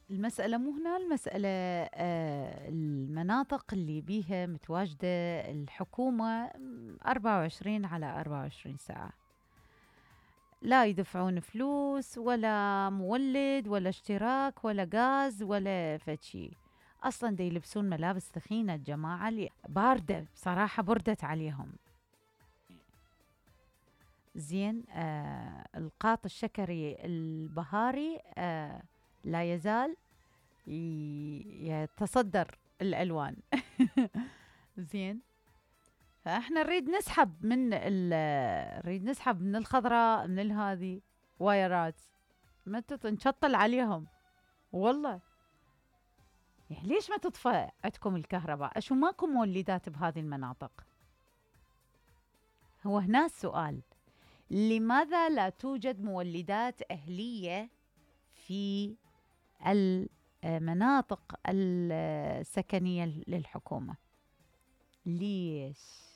المسألة مو هنا، المسألة المناطق اللي بيها متواجدة الحكومة 24 على 24 ساعة، لا يدفعون فلوس ولا مولد ولا اشتراك ولا غاز ولا فشي. أصلا دا يلبسون ملابس ثخينة الجماعة اللي باردة بصراحة، بردت عليهم. زين. القاط الشكري البهاري لا يزال يتصدر الألوان. زين. فاحنا نريد نسحب من الخضراء، من الهذي وايرات، ما نشطل عليهم والله. يعني ليش ما تطفى عندكم الكهرباء؟ أشو ماكو مولدات بهذه المناطق؟ هو هنا السؤال، لماذا لا توجد مولدات أهلية في المناطق السكنية للحكومة؟ ليش؟